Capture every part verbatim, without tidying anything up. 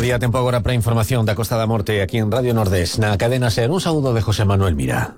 día, tempo agora para a información da Costa da Morte aquí en Radio Nordés, na cadena SER. Un saúdo de José Manuel Mira.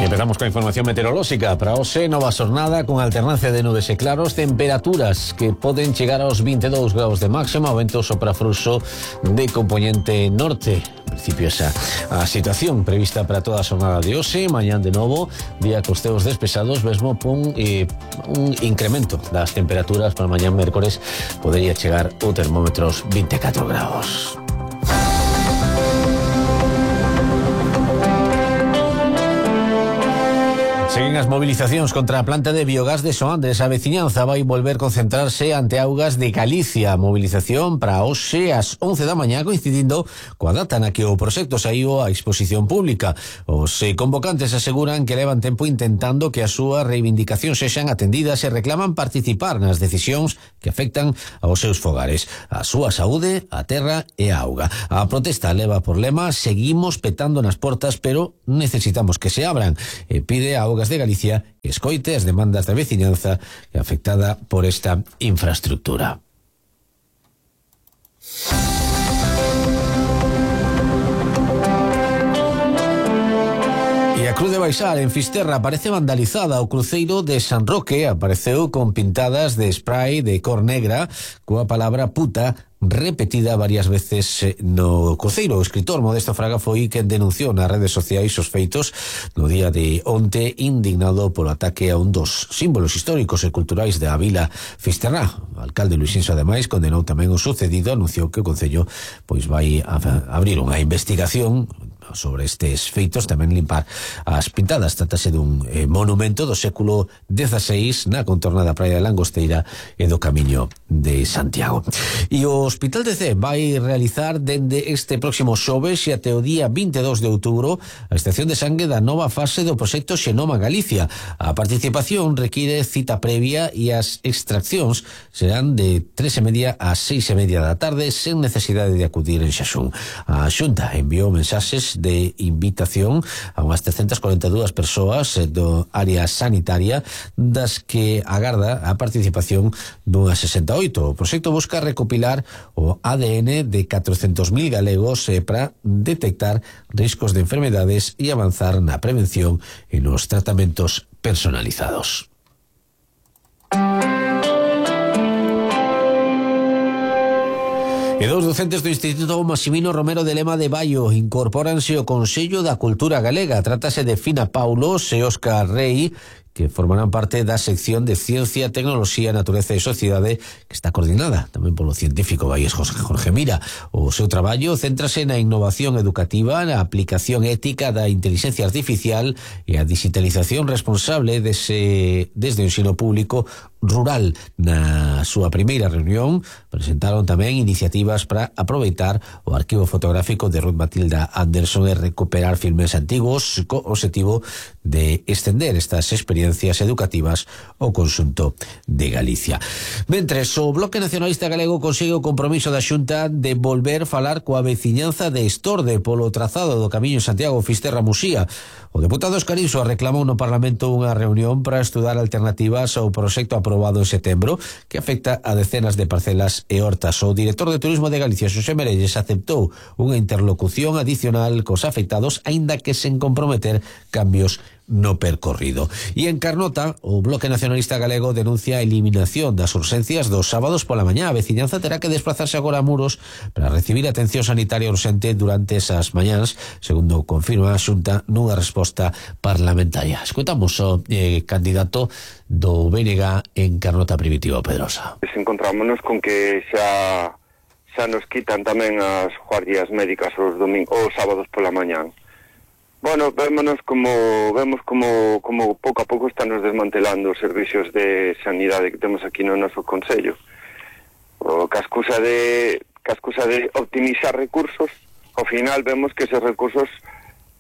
Empezamos coa información meteorolóxica. Para hoxe, nova xornada con alternancia de nubes e claros, temperaturas que poden chegar aos veintidós graus de máxima, o vento sopra fluxo de componente norte. En principio esa a situación prevista para toda a xornada de hoxe. Mañán de novo, día cos ceos despesados, mesmo pon eh, un incremento das temperaturas. Para mañán mércores podería chegar o termómetros vinte e catro graus. Seguen as movilizacións contra a planta de biogás de Soandres. A veciñanza vai volver concentrarse ante Augas de Galicia. Movilización para hoxe ás once da mañá, coincidindo coa data na que o proxecto saíu á exposición pública. Os convocantes aseguran que levan tempo intentando que as súas reivindicacións sexan atendidas e reclaman participar nas decisións que afectan aos seus fogares, a súa saúde, a terra e a auga. A protesta leva por lema "Seguimos petando nas portas, pero necesitamos que se abran", e pide a Augas de Galicia que escoite as demandas da veciñanza afectada por esta infraestructura. E a Cruz de Baixal, en Fisterra, aparece vandalizada. O cruceiro de San Roque apareceu con pintadas de spray de cor negra coa palabra puta repetida varias veces no cruceiro. O escritor Modesto Fraga foi quen denunciou nas redes sociais os feitos no día de onte, indignado polo ataque a un dos símbolos históricos e culturais da vila Fisterra. O alcalde Luisínso, ademais, condenou tamén o sucedido, anunciou que o Concello pois vai a abrir unha investigación sobre estes feitos, tamén limpar as pintadas. Trátase dun eh, monumento do século dieciséis na contorna da praia de Langosteira e do Camiño de Santiago. E o Hospital de Cee vai realizar dende este próximo xoves e até o día vinte e dous de outubro a extracción de sangue da nova fase do proxecto Xenoma Galicia. A participación require cita previa e as extraccións serán de tres e media a seis e media da tarde, sen necesidade de acudir en xaxún. A Xunta enviou mensaxes de invitación a unhas trescentas cuarenta e dúas persoas do área sanitaria, das que agarda a participación dunhas sesenta e oito. O proxecto busca recopilar o A D N de catrocentos mil galegos eh, para detectar riscos de enfermedades e avanzar na prevención e nos tratamentos personalizados. E dous docentes do Instituto Maximino Romero de Lema de Baio incorpóranse ao Consello da Cultura Galega. Trátase de Fina Paulos e Óscar Rei, que formarán parte da sección de Ciencia, Tecnoloxía, Natureza e Sociedade, que está coordinada tamén polo científico Baíes Jorge Mira. O seu traballo céntrase na innovación educativa, na aplicación ética da inteligencia artificial e a digitalización responsable dese, desde o ensino público rural. Na súa primeira reunión presentaron tamén iniciativas para aproveitar o arquivo fotográfico de Ruth Matilda Anderson e recuperar filmes antigos, co obxectivo de extender estas experiencias educativas ao conxunto de Galicia. Mentres, o Bloque Nacionalista Galego consigue o compromiso da Xunta de volver falar coa veciñanza de Estorde polo trazado do Camiño Santiago Fisterra-Muxía. O deputado Escariso reclamou no Parlamento unha reunión para estudar alternativas ao proxecto aprobado en setembro que afecta a decenas de parcelas e hortas. O director de Turismo de Galicia, Xosé Merelles, aceptou unha interlocución adicional cos afectados, aínda que sen comprometer cambios no percorrido. E en Carnota, o Bloque Nacionalista Galego denuncia a eliminación das urxencias dos sábados pola mañá. A veciñanza terá que desplazarse agora a Muros para recibir atención sanitaria urxente durante esas mañáns, segundo confirma a Xunta nunha resposta parlamentaria. Escutamos o eh, candidato do B N G en Carnota Primitivo, Pedrosa. Encontrámonos con que xa xa nos quitan tamén as guardias médicas os domingos, os sábados pola mañán. Bueno, vémonos como vemos como como pouco a pouco están nos desmantelando os servicios de sanidade que temos aquí no noso concello. O que a excusa de que a excusa de optimizar recursos, ao final vemos que esos recursos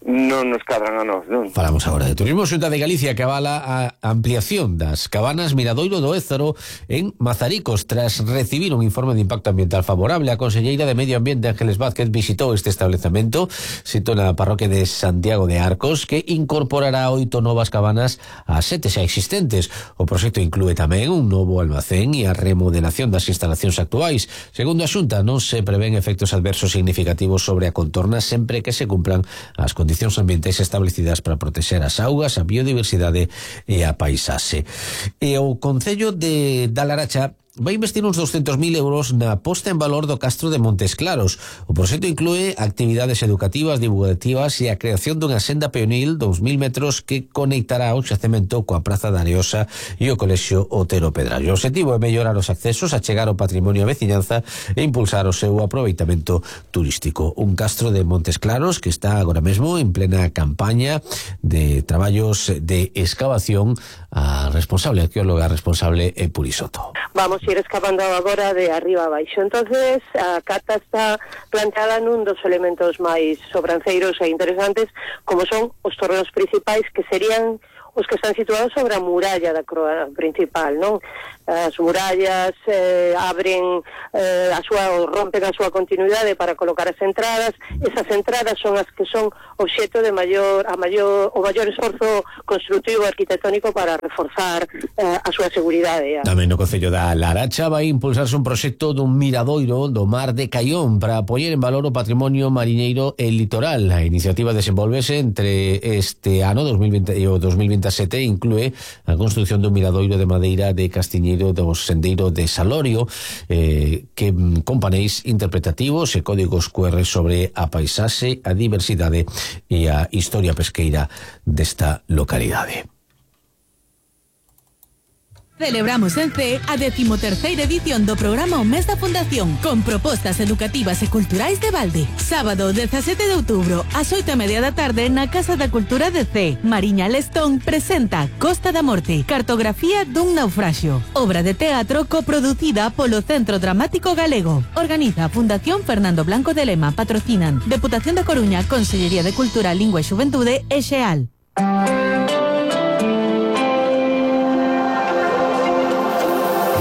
non nos cadran a nós, non? Falamos agora de turismo. Xunta de Galicia que avala a ampliación das cabanas Miradoiro do Ézaro en Mazaricos tras recibir un informe de impacto ambiental favorable. A conselleira de Medio Ambiente Ángeles Vázquez visitou este establecemento sito na parroquia de Santiago de Arcos, que incorporará oito novas cabanas a sete xa existentes. O proxecto inclúe tamén un novo almacén e a remodelación das instalacións actuais. Segundo a Xunta, non se prevén efectos adversos significativos sobre a contorna sempre que se cumplan as condicións ambientais establecidas para protexer as augas, a biodiversidade e a paisaxe. E o Concello de Dalaracha vai investir uns doscientos mil euros na posta en valor do Castro de Montes Claros. O proxecto inclúe actividades educativas, divulgativas e a creación dunha senda peonil dos mil metros que conectará o xacemento coa Praza da Areosa e o Colexio Otero Pedrallo. O objetivo é mellorar os accesos, achegar o patrimonio a veciñanza e impulsar o seu aproveitamento turístico. Un Castro de Montes Claros que está agora mesmo en plena campaña de traballos de excavación. A responsable, a arqueóloga responsable é Purisoto. Vamos ir excavando agora de arriba a baixo. Entonces, a cata está planteada nun dos elementos máis sobranceiros e interesantes, como son os torreos principais, que serían os que están situados sobre a muralla da croa principal, non? As murallas eh, abren eh, a súa, ou rompen a súa continuidade para colocar as entradas. Esas entradas son as que son obxeto de maior, a maior, o maior esforzo construtivo arquitectónico para reforzar eh, a súa seguridade. Tamén no Concello da Laracha vai impulsarse un proxecto dun miradoiro do mar de Caión para poñer en valor o patrimonio mariñeiro e litoral. A iniciativa desenvolvese entre este ano dos mil vinte e o dos mil vintisete e inclúe a construción dun miradoiro de madeira de Castiñeiro do sendeiro de Salorio, eh, que con paneis interpretativos e códigos Q R sobre a paisaxe, a diversidade e a historia pesqueira desta localidade. Celebramos en C a decimoterceira edición do programa O Mes da Fundación, con propostas educativas e culturais de balde. Sábado dezasete de outubro, ás oito e media da tarde, na Casa da Cultura de C. Mariña Lestón presenta Costa da Morte, cartografía dun naufraxio. Obra de teatro coproducida polo Centro Dramático Galego. Organiza a Fundación Fernando Blanco de Lema. Patrocinan Deputación da Coruña, Consellería de Cultura, Lingua e Xuventude e Xeal.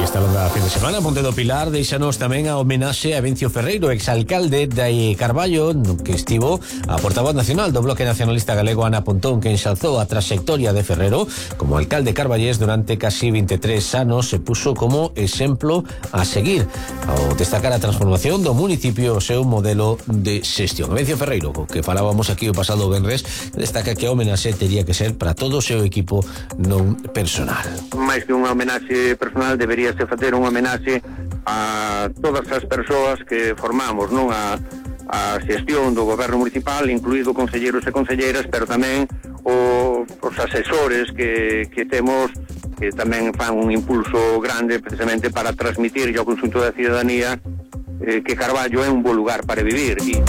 Esta longa fin de semana, Ponte do Pilar deixanos tamén a homenaxe a Vencio Ferreiro, exalcalde de Carballo, no que estivo a portavoz nacional do Bloque Nacionalista Galego Ana Pontón, que enxalzou a traxectoria de Ferrero como alcalde carballés durante casi veintitrés anos. Se puso como exemplo a seguir ao destacar a transformación do municipio o seu modelo de xestión. Vencio Ferreiro, que falábamos aquí o pasado venres, destaca que a homenaxe tería que ser para todo o seu equipo non personal. Máis que unha homenaxe personal, debería se facer unha homenaxe a todas as persoas que formamos, non, a, a xestión do goberno municipal, incluído concelleiros e concelleiras, pero tamén o, os asesores que, que temos, que tamén fan un impulso grande precisamente para transmitir ao conxunto da cidadanía eh, que Carballo é un bo lugar para vivir. E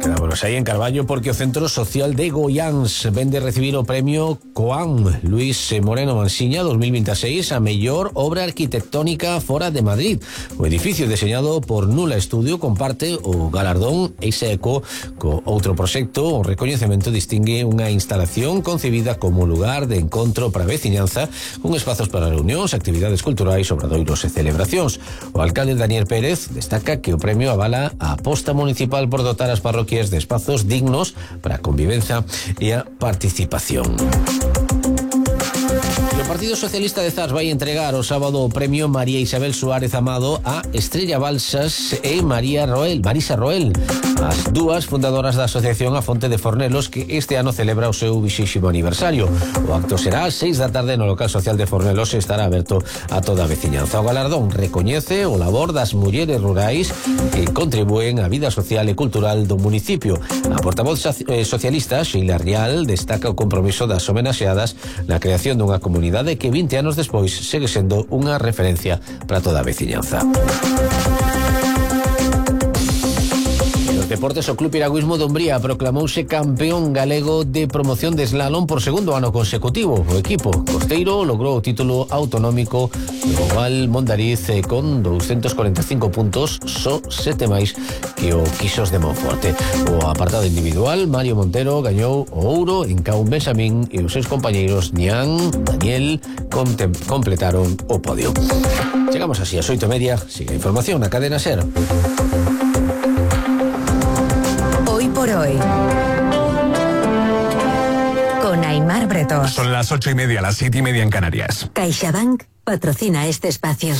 quedámonos aí en Carballo porque o Centro Social de Goiáns vende recibir o premio Coam Luis Moreno Mansiña dos mil veintiséis a mellor obra arquitectónica fora de Madrid. O edificio deseñado por Nula Estudio comparte o galardón Eiseco co outro proxecto. O recoñecemento distingue unha instalación concebida como lugar de encontro para veciñanza, con espazos para reunións, actividades culturais, obradoiros e celebracións. O alcalde Daniel Pérez destaca que o premio avala a aposta municipal por dotar as parroquias de espazos dignos para a convivencia e a participación. O Partido Socialista de Zas vai entregar o sábado o premio María Isabel Suárez Amado a Estrella Balsas e María Roel, Marisa Roel, as dúas fundadoras da Asociación A Fonte de Fornelos, que este ano celebra o seu vixésimo aniversario. O acto será ás seis da tarde no local social de Fornelos e estará aberto a toda a veciñanza. O galardón recoñece o labor das mulleres rurais que contribúen á vida social e cultural do municipio. A portavoz socialista, Sheila Rial, destaca o compromiso das homenaxeadas na creación dunha comunidade que vinte anos despois segue sendo unha referencia para toda a veciñanza. Deportes, o Club Piragüismo de Umbría proclamouse campeón galego de promoción de slalom por segundo ano consecutivo. O equipo costeiro logrou o título autonómico do Oval Mondariz con doscientos cuarenta y cinco puntos, só sete máis que o Quixos de Monforte. O apartado individual, Mario Montero gañou o ouro en Caun Benxamín e os seus compañeiros Nián, Daniel contem- completaron o podio. Chegamos así a oito e media. Sigue a información na cadena SER. Hoy por hoy, con Aimar Bretós. Son las ocho y media, las siete y media en Canarias. CaixaBank patrocina este espacio.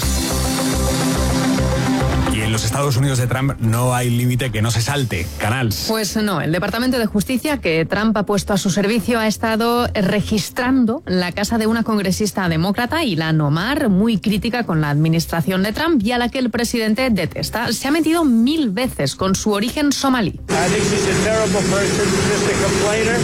Y en los Estados Unidos de Trump no hay límite que no se salte. Canals. Pues no, el Departamento de Justicia que Trump ha puesto a su servicio ha estado registrando la casa de una congresista demócrata, Ilhan Omar, muy crítica con la administración de Trump y a la que el presidente detesta. Se ha metido mil veces con su origen somalí.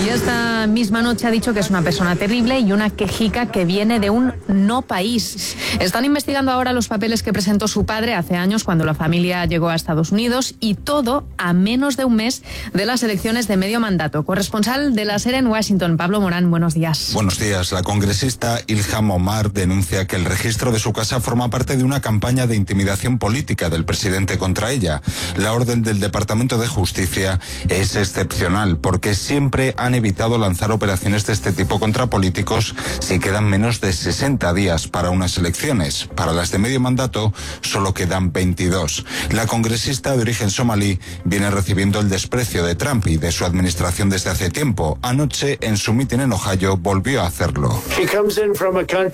Y esta misma noche ha dicho que es una persona terrible y una quejica que viene de un no país. Están investigando ahora los papeles que presentó su padre hace años cuando la familia llegó a Estados Unidos, y todo a menos de un mes de las elecciones de medio mandato. Corresponsal de la SER en Washington, Pablo Morán, buenos días. Buenos días. La congresista Ilhan Omar denuncia que el registro de su casa forma parte de una campaña de intimidación política del presidente contra ella. La orden del Departamento de Justicia es excepcional porque siempre han evitado lanzar operaciones de este tipo contra políticos si quedan menos de sesenta días para unas elecciones. Para las de medio mandato solo quedan veintidós. La congresista de origen somalí viene recibiendo el desprecio de Trump y de su administración desde hace tiempo. Anoche, en su mitin en Ohio, volvió a hacerlo.